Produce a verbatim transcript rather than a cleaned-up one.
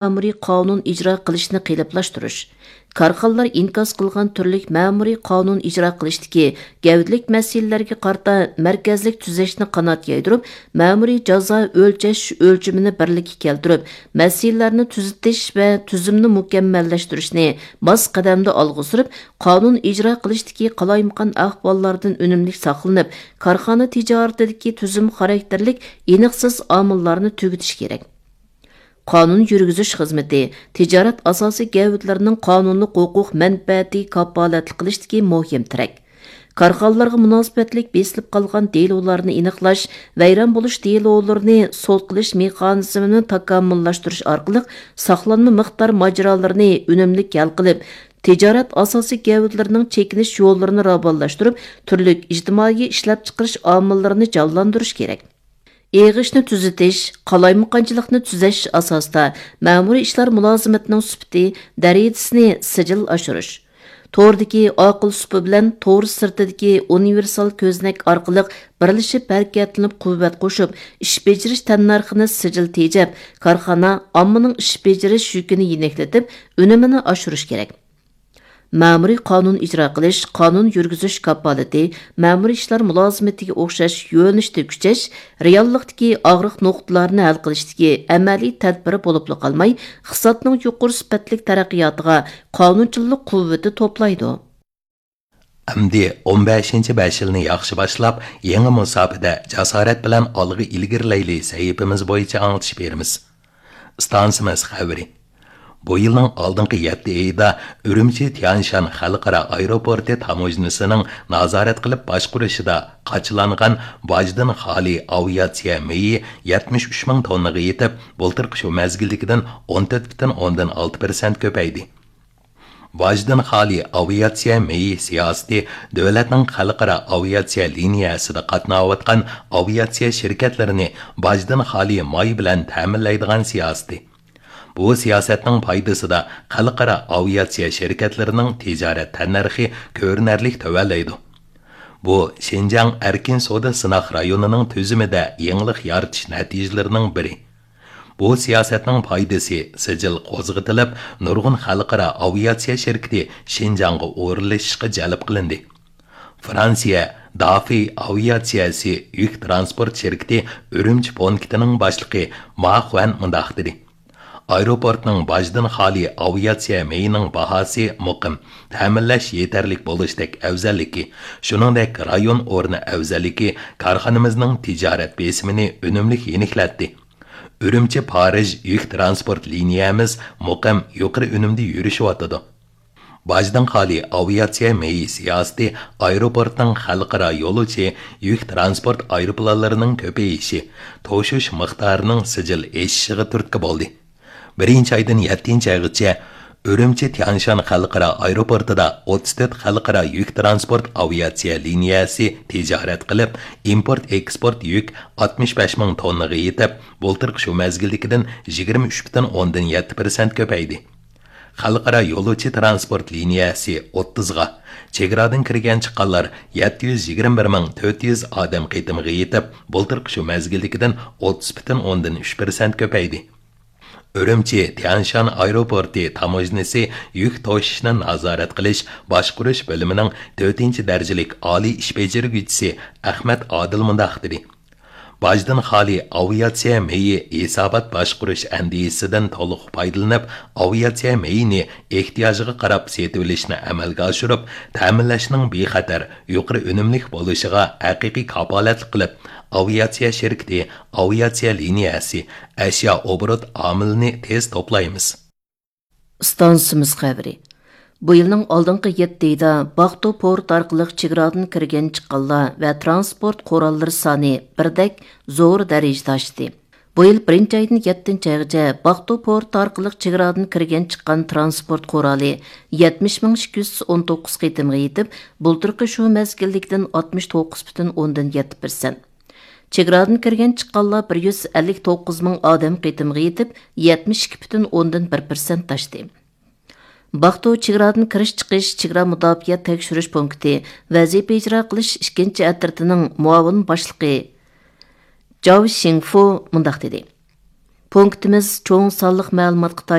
مەمۇرىي قانۇن ئىجرا قىلىشنى قېلىپلاشتۇرۇش، كارخانىلار ئىنكاس قىلغان تۈرلۈك مەمۇرىي قانۇن ئىجرا قىلىشتىكى گەۋدىلىك مەسىلىلەرگە قارىتا مەركەزلىك تۈزەشنى قانات يايدۇرۇپ، مەمۇرىي جازا ئۆلچەش ئۆلچىمىنى بىرلىككە كەلتۈرۈپ، مەسىلىلەرنى تۈزىتىش ۋە تۈزۈمنى مۇكەممەللەشتۈرۈشنى ماس قەدەمدە ئالغا سۈرۈپ، قانۇن ئىجرا قىلىشتىكى قالايمىقان ئەھۋاللاردىن ئۈنۈملۈك ساقلىنىپ، كارخانا تىجارىتىدىكى تۈزۈم خاراكتېرلىك ئېنىقسىز ئامىللارنى تۈگىتىش كېرەك. قانۇن يۈرگۈزۈش خىزمىتى تىجارەت ئاساسىي گەۋدىلىرىنىڭ قانۇنلۇق ھوقۇق مەنپەئەتىگە كاپالەتلىك قىلىشتىكى مۇھىم تىرەك. كارخانىلارغا مۇناسىۋەتلىك بېسىلىپ قالغان دېلولارنى ئېنىقلاش، ۋەيران بولۇش دېلولىرىنى سوت قىلىش مېخانىزمىنى تاكامۇللاشتۇرۇش ئارقىلىق ساقلانما مىقدار ماجىرالىرىنى ئۈنۈملۈك ھەل قىلىپ، تىجارەت ئاساسىي گەۋدىلىرىنىڭ چېكىنىش يوللىرىنى راۋانلاشتۇرۇپ، تۈرلۈك ئىجتىمائىي ئىشلەپچىقىرىش ئامىللىرىنى جانلاندۇرۇش كېرەك. ئېغىشنى تۈزىتىش، قالايمىقانچىلىقنى تۈزەش ئاساسىدا مەمۇرىي ئىشلار مۇلازىمىتىنىڭ سۈپىتى، دەرىجىسىنى سىجىل ئاشۇرۇش. توردىكى ئاقىل سۇپا بىلەن تور سىرتىدىكى ئۇنىۋېرسال كۆزنەك ئارقىلىق بىرلىشىپ ھەرىكەتلىنىپ قۇۋۋەت قوشۇپ، ئىش بېجىرىش تەننەرخىنى سىجىل تېجەپ، كارخانا ئاممىنىڭ ئىش بېجىرىش يۈكىنى يېنىكلىتىپ، ئۈنۈمىنى ئاشۇرۇش كېرەك. مەمۇرىي قانۇن ئىجرا قىلىش، قانۇن يۈرگۈزۈش كاپالىتى، مەمۇرىي ئىشلار مۇلازىمىتىگە ئوخشاش يۆنىلىشتە كۈچەش، رېئاللىقتىكى ئاغرىق نۇقتىلارنى ھەل قىلىشتىكى ئەمەلىي تەدبىر بولۇپلا قالماي، ئىقتىسادنىڭ يۇقىرى سۈپەتلىك تەرەققىياتىغا قانۇنچىلىق قۇۋۋىتى توپلايدۇ. ئەمدى ئون بەشىنچى بەش يىلنى ياخشى باشلاپ، يېڭى مۇساپىدە جاسارەت بىلەن ئالغا ئىلگىرىلەيلى سەھىپىمىز بويىچە ئاڭلىتىش بېرىمىز. ئىستانسىمىز خەۋىرى. بۇ يىلنىڭ ئالدىنقى يەتتە ئېيىدا ئۈرۈمچى تيەنشان خەلقئارا ئايروپورتى تاموژنىسىنىڭ نازارەت قىلىپ باشقۇرۇشىدا قاچىلانغان باجدىن خالىي ئاۋىئاتسىيە مېيى يەتمىش ئۈچ مىڭ توننىغا يېتىپ، بۇلتۇرقى شۇ مەزگىلدىكىدىن ئون تۆت پۈتۈن ئوندىن ئالتە پىرسەنت كۆپەيدى. باجدىن خالىي ئاۋىئاتسىيە مېيى سىياسىتى دۆلەتنىڭ خەلقئارا ئاۋىئاتسىيە لىنىيەسىدە قاتناۋاتقان ئاۋىئاتسىيە شىركەتلىرىنى باجدىن خالىي ماي بىلەن تەمىنلەيدىغان سىياسىتى. بۇ سىياسەتنىڭ پايدىسىدا خەلقئارا ئاۋىئاتسىيە شىركەتلىرىنىڭ تىجارەت تەننەرخى كۆرۈنەرلىك تۆۋەنلەيدۇ. بۇ شىنجاڭ ئەركىن سودا سىناق رايونىنىڭ تۈزۈمىدە يېڭىلىق يارىتىش نەتىجىلىرىنىڭ بىرى. بۇ سىياسەتنىڭ پايدىسى سىجىل قوزغىتىلىپ، نۇرغۇن خەلقئارا ئاۋىئاتسىيە شىركىتى شىنجاڭغا ئورۇنلىشىشقا جەلپ قىلىندى. فرانسىيە دافى ئاۋىئاتسىيەسى يۈك ترانسپورت شىركىتى ئۈرۈمچى پونكىتىنىڭ باشلىقى ما خۇەن مۇنداق دېدى: ئايروپورتنىڭ باجدىن خالىي ئاۋىئاتسىيە مېيىنىڭ باھاسى مۇقىم، تەمىنلەش يېتەرلىك بولۇشتەك ئەۋزەللىكى، شۇنىڭدەك رايون ئورنى ئەۋزەللىكى كارخانىمىزنىڭ تىجارەت بېسىمىنى ئۈنۈملۈك يېنىكلەتتى. ئۈرۈمچى پارىژ يۈك ترانسپورت لىنىيەمىز مۇقىم، يۇقىرى ئۈنۈمدە يۈرۈشۈۋاتىدۇ. باجدىن خالىي ئاۋىئاتسىيە مېيى سىياسىتى ئايروپورتنىڭ خەلقئارا يولۇچى يۈك ترانسپورت ئايروپىلانلىرىنىڭ كۆپىيىشى، توشۇش مىقدارىنىڭ سىجىل ئېشىشىغا تۈرتكە بولدى. بىرىنچى ئايدىن يەتتىنچى ئايغىچە ئۈرۈمچى تيەنشان خەلقئارا ئايروپورتىدا ئوتتۇز تۆت خەلقئارا يۈك ترانسپورت ئاۋىئاتسىيە لىنىيەسى تىجارەت قىلىپ، ئىمپورت ئېكسپورت يۈك ئاتمىش بەش مىڭ توننىغا يېتىپ، بۇلتۇرقى شۇ مەزگىلدىكىدىن يىگىرمە ئۈچ پۈتۈن ئوندىن يەتتە پىرسەنت كۆپەيدى. خەلقئارا يولۇچى ترانسپورت لىنىيەسى ئوتتۇزغا، چېگرادىن كىرگەن چىققانلار يەتتە يۈز يىگىرمە بىر مىڭ تۆت يۈز ئادەم قېتىمىغا يېتىپ، بۇلتۇرقى شۇ مەزگىلدىكىدىن ئوتتۇز پۈتۈن ئوندىن ئۈچ پىرسەنت كۆپەيدى. ئۈرۈمچى تيەنشان ئايروپورتى تاموژنىسى يۈك توشۇشنى نازارەت قىلىش باشقۇرۇش بۆلۈمىنىڭ تۆتىنچى دەرىجىلىك ئالىي ئىش بېجىرگۈچىسى ئەخمەت ئادىل مۇنداق دېدى: باجدىن خالىي ئاۋىئاتسىيە مېيى ھېسابات باشقۇرۇش ئەندىزىسىدىن تولۇق پايدىلىنىپ، ئاۋىئاتسىيە مېيىنى ئېھتىياجىغا قاراپ سېتىۋېلىشنى ئەمەلگە ئاشۇرۇپ، تەمىنلەشنىڭ بىخەتەر، يۇقىرى ئۈنۈملۈك بولۇشىغا ھەقىقىي كاپالەتلىك قىلىپ، ئاۋىئاتسىيە شىركىتى، ئاۋىئاتسىيە لىنىيەسى، ئەشيا ئوبوروت ئامىلىنى تېز توپلايمىز. ئىستانسىمىز خەۋىرى. بۇ يىلنىڭ ئالدىنقى يەتتە ئېيىدا باقتو پورت ئارقىلىق چېگرادىن كىرگەن چىققانلار ۋە ترانسپورت قوراللىرى سانى بىردەك زور دەرىجىدە ئاشتى. بۇ يىل بىرىنچى ئايدىن يەتتىنچى ئايغىچە باقتو پورت ئارقىلىق چېگرادىن كىرگەن چىققان ترانسپورت قورالى يەتمىش مىڭ ئىككى يۈز ئون توققۇز قېتىمغا يېتىپ، بۇلتۇرقى شۇ مەزگىلدىكىدىن ئاتمىش توققۇز پۈتۈن ئوندىن يەتتە پىرسەنت. چېگرادىن كىرگەن چىققانلار بىر يۈز ئەللىك توققۇز مىڭ ئادەم قېتىمغا يېتىپ، يەتمىش ئىككى پۈتۈن ئوندىن بىر پىرسەنت ئاشتى. باقتو چېگرادىن كىرىش چىقىش چېگرا مۇداپىئە تەكشۈرۈش پونكىتى ۋەزىپە ئىجرا قىلىش ئىككىنچى ئەترىتىنىڭ مۇئاۋىن باشلىقى جاۋ شىڭفۇ مۇنداق دېدى: پونكىتىمىز چوڭ سانلىق مەلۇماتقا